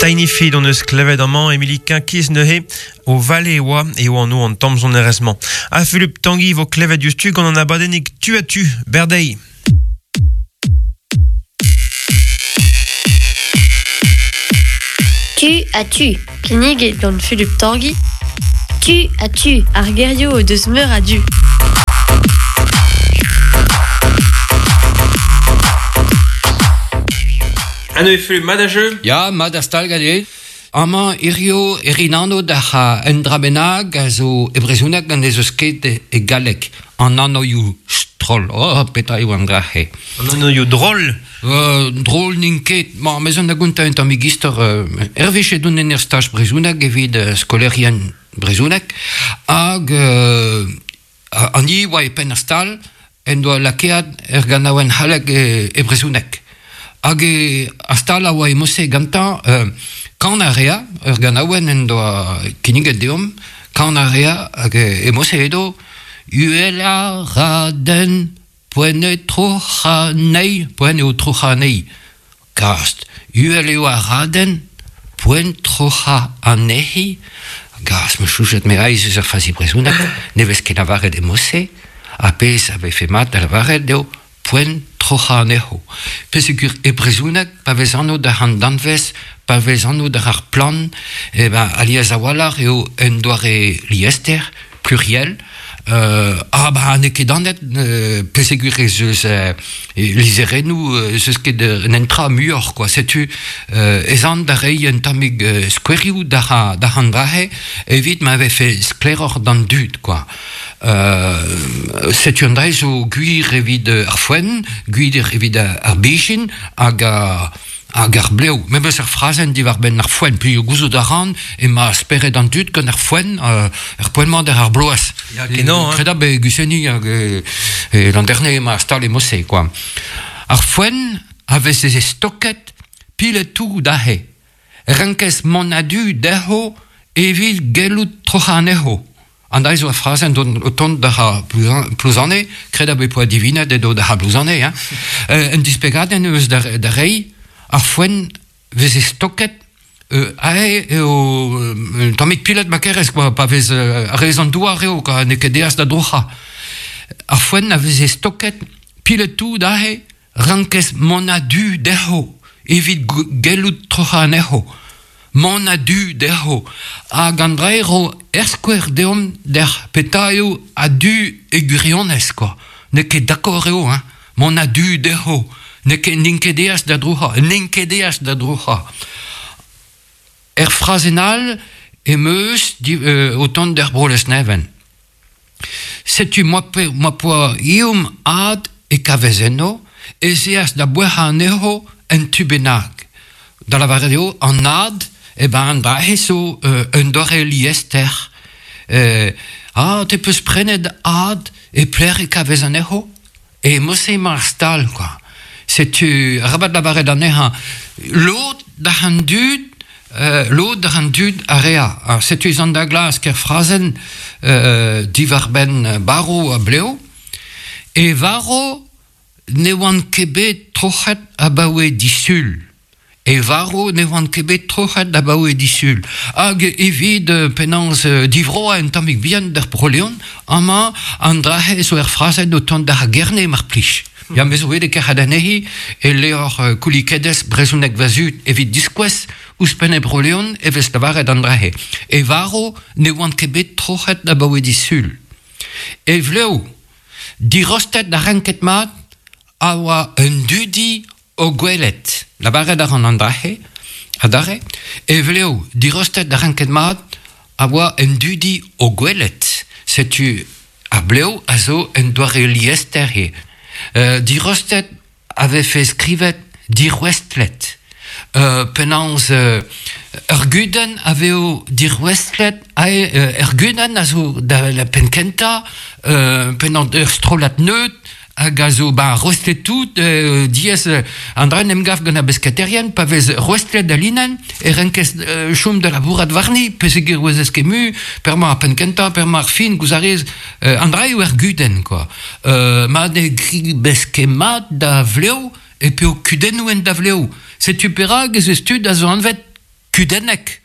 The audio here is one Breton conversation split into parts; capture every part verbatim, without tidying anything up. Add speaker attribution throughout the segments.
Speaker 1: Tiny Feed on eus klevet amañ Emily Quinquis neuze o vale e oa eo an o an tamm sonerezh-mañ. Ha Philippe Tanguy vo klevet diouzhtu gant an abadennig tu a tu, berdei.
Speaker 2: Tu a tu.
Speaker 3: Kinniget gant Philippe Tanguy.
Speaker 2: Tu a tu.
Speaker 3: Ar gerioù o deus meur a du.
Speaker 1: Ano e Philippe, mat a jeu?
Speaker 4: Ya, mat a stal gant Amañ hirio erinano da un dra bennak a zo e brezhoneg gant ez eus ket e galleg. An anoioù stroll. Oh, petra eo an dra-se.
Speaker 1: An anoioù drol?
Speaker 4: Euh, drol n'int ket. Ma, mez an da gontañ un tammig istor. Euh, Hervez edon en ur staj brezhoneg evit euh, skolerien brezhoneg hag euh, an i oa e penn ar stal en doa lakeat er ganaouenn c'halleg e, e brezhoneg. Hag e ar stal a oa e mose gantañ euh, kan a rea, ur ganaouenn en doa kinniget deomp, kan a rea hag e mose edo uhel a raden poent e troc'ha nei, poent eo troc'ha nei. Gast, uhel eo a raden poent troc'ha anezhi. Gast, me chouchet me aiz eus ar fazi brezhoneg, ne vez ket lavaret e mose, a pezh a vefe mat da lavaret eo poent troc'ha anezho. Pesegur e brezhoneg, pa vez anv da an danvez, pa vez anv da ar plan, e ben, alies a-walc'h eo un doare liester, pluriel, euh, ah ba n'eo ket anet, euh, pesegur ez eus euh, lizherennoù, ez eus ket un entra muioc'h, quoi. Setu euh, ez an da reiñ un tammig euh, skouerioù da da an drahe, evit ma vefe sklaeroc'h d'an dud, quoi. Euh, setu an dra zo gwir evit ar foenn, gwir evit ar bijin, hag a hag ar blev. Memes ar frazenn diwar benn ar foenn, puis gouzout a ran ema spered an dud gant ar foenn, euh, ar poent-mañ d'ar ar bloaz.
Speaker 1: Ya, kenañ, hein.
Speaker 4: Kredab e Guseni hag e, e l'an dernier ema stal e mose, quoi. Ar foenn a vez e stoket pilet tout dahe. Renkez mont a-du dezho evit gellout troc'hañ anezho. An da zo ar frazenn don o tont da ar Plouzane, kredab e poa divinet edo da ar Plouzane, hein. Euh, un dispegadenn eus da, da rei, ar foenn veze stoket euh, ae eo euh, tammig pilet ma kerez, quoi, pa vez euh, ar rez an douar eo, quoi, n'eo ket deas da droc'hañ. Ar foenn a veze stoket pilet tout ahe, rankez mont a-du dezho, evit gellout troc'hañ anezho. Mont a-du dezho. Hag an dra eo er skouer deomp d'er petra eo a-du e gwirionez, quoi. N'eo ket d'accord eo, hein. Mont a-du dezho. N'eo ket n'int ket deas da droc'hañ, n'int ket deas da droc'hañ. Er frazenn all em eus di, euh, o tont d'er bro Lesneven. Setu moa pe, moa poa iom ad e kavez eno, ez eas da boec'hañ anezho en tu bennak. Da lavaret eo, an ad, e ben an dra zo euh, un doare liester. Euh, ah, te peus prenet ad e pler e kavez anezho? E mose emañ ar stal, quoi. Setu, arabat lavaret anezhañ, lod da an dud, euh, lod da an dud a rea. Ar setu ez an da glask er frazenn euh, diwar benn baro a bleo, e varo ne oant ket bet troc'het abaoe disul. E varo ne oant ket bet troc'het abaoe disul. Hag evit euh, penaos euh, divroa un tammig bihan d'ar Bro-Leon, amañ an drahe zo er frazenn o tont d'ar gerne mar plij. Ya me zo bet e kerc'hat anezhi e levr euh, koulikedez brezhoneg va zud evit diskouez ouzhpenn e Bro-Leon e vez lavaret an drahe. E varo ne oant ket bet troc'het abaoe disul. E vleo, dirostet da renket mat a oa un dudi o gwelet. Lavaret a ran an drahe, adarre, e vleo, dirostet da renket mat a oa un dudi o gwelet. Setu ar bleo a zo un doare liester he. Euh, dirostet avait fait skrivet dirwestlet. Euh, penaos euh, ur gudenn a veo dirwestlet ae euh, ur gudenn a zo da la penkenta euh, penaos ur strollad neud hag a zo ba rostet tout euh, diez euh, an dra en em gav gant ar besketerien pa vez rostet da linen e renkez euh, chom da labourat warni pesegur oez ez ket mu per ma ar penkenta per ma ar fin gouz a rez euh, an dra eo ur gudenn, quoi. Euh, ma ne gri beske mat da vleo e peo kudennoù en da vleo. Setu perak ez eus tud a zo anvet kudennek.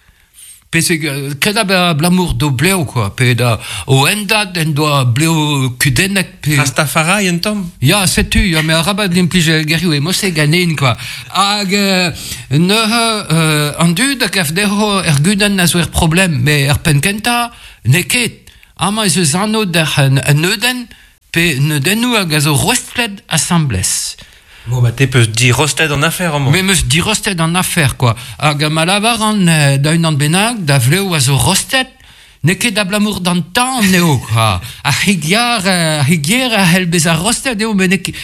Speaker 4: Pe se kreda be blamour do bleo, quoi. Pe da o endad en doa bleo kudennek. Pe...
Speaker 1: Rastafari en tamm?
Speaker 4: Ya, setu, ya, me arabat implij gerioù e mose ganin, quoi. Hag euh, neuze euh, an dud a gav dezho er gudenn a zo er problem, me er penn kentañ n'eo ket. Amañ ez eus anv d'ar un neudenn, pe neudennoù hag a zo rostlet asambles.
Speaker 1: Bon, bah, te peus dirostet an afer, amañ.
Speaker 4: Me meus dirostet an afer, quoi. Hag ma lavar an da unan bennak, da vleo a zo rostet, n'eo ket abalamour d'an tan eo, quoi. Ar c'higiar, ar c'higier a c'hell bezañ rostet eo, met n'eo ket...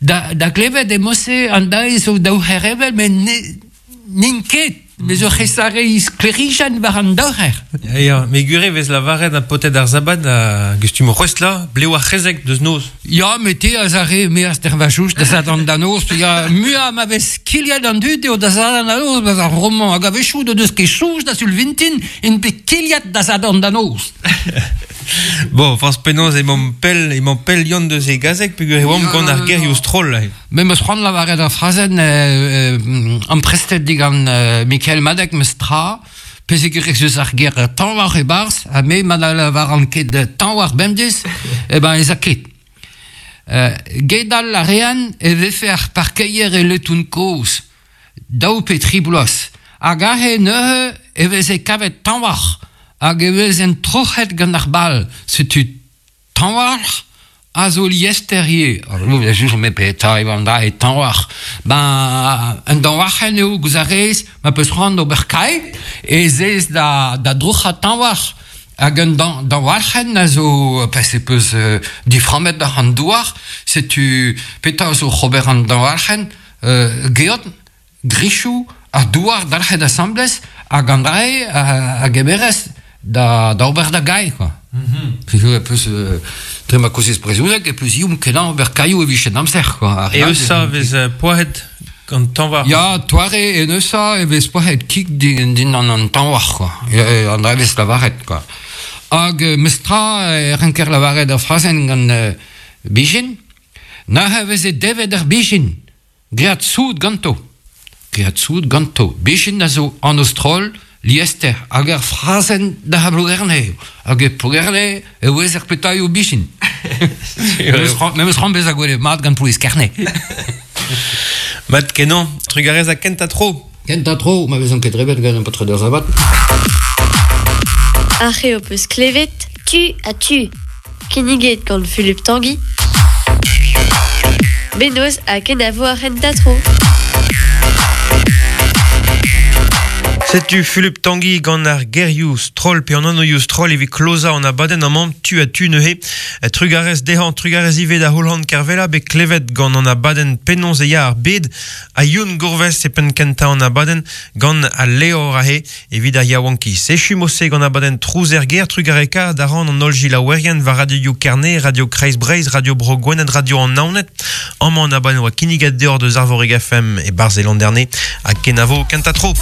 Speaker 4: Da, da klevet e mose an dae zo daou c'herevel, met n'int ket. Me zo c'hesare sklerijenn war an daouc'her.
Speaker 1: Ya, ya, me gure vez lavaret a potet ar zabat a gustum rostla, bleo ar c'hezek deus noz.
Speaker 4: Ya, me te a zare me az dervajouch da zadan da noz, ya, mua ma vez kiliad an dud eo da zadan da noz, baz ar roman hag a vechou de deus ket chouj da sul vintin, en pe kiliad da zadan da noz.
Speaker 1: Bon, forz penaos emañ pell, emañ pell Yann deus e gazeg, peogwir e oamp gant ar gerioù stroll.
Speaker 4: Me meus c'hoant lavaret ar frazenn euh, euh, amprestet digant euh, Michael Madec meus tra, pezh e gerez eus ar ger tan war e-barzh, ha me ma na lavaran ket tan war bemdez, e ben ez a ket. Euh, gedal a rean e vefe ar parkeier e letoun kozh, daou pe tri bloaz, hag aze neuze e veze kavet tan war, hag e vezen troc'het gant ar bal, setu tan war a zo liester ivez. Alors, je me petra eo an da e tan war. Ben, un danwarc'hen eo gouz a rez, ma peus c'hoant ober kae, e zez da, da droc'ha tan war. Hag un dan, danwarc'hen a zo, pas e peus euh, diframmet d'ar an douar, setu petra zo c'hober an danwarc'hen, euh, geot, grichou, ar douar dalc'het asamblez, hag an drae a, a gemerez da, da ober da gae, quoi. Mm-hmm. Peus, peus, euh, dre ma kozez brezhoneg, e peus ioum kenañ ober kaioù e vichen amzer, quoi.
Speaker 1: E eus a vez poahet gant tanvar?
Speaker 4: Ya, toare en eusa e vez poahet kig din, din an an tanvar, quoi. E, an dra vez lavaret, quoi. Hag meus tra e renker lavaret ar frazenn gant euh, bijin, na e veze devet ar bijin, great soud ganto. Great soud ganto. Bijin a zo an stroll, liester, hag ar frazenn da ha Plougerne. Hag e Plougerne e ouez ar petailhoù bijin. Me meus c'hoant bezañ gwelet mat gant Plouez Kerne.
Speaker 1: Mat kenañ, trugarez a kentañ tro.
Speaker 4: Kentañ tro, ma vezan ket rebet gant un paotr d'ar zabat.
Speaker 3: Ar c'heo peus klevet, tu a tu. Kinniget gant Philippe Tanguy. Benoz ha kenavo ar c'hentañ tro.
Speaker 1: Setu Philippe Tanguy gant ar gerioù stroll pe an anvioù stroll evit klozañ an abadenn amañ tu a tu neuze. Trugarez dezhañ, trugarez ivez da Holland Kervella bet klevet gant an abadenn penaos e ya ar bed ha Youn Gourves e penn kentañ an abadenn gant al levr aze evit ar yaouankiz. Echu mose gant abadenn Trouz er gêr, trugareka da ran an holl jilaouerien war Radio Kerne, Radio Kreiz Breizh, Radio Bro Gwened, Radio an Naoned. Amañ an abadenn oa kinniget deoc'h deus Arvorig F M e Barz e Landerne ha kenavo kentañ tro.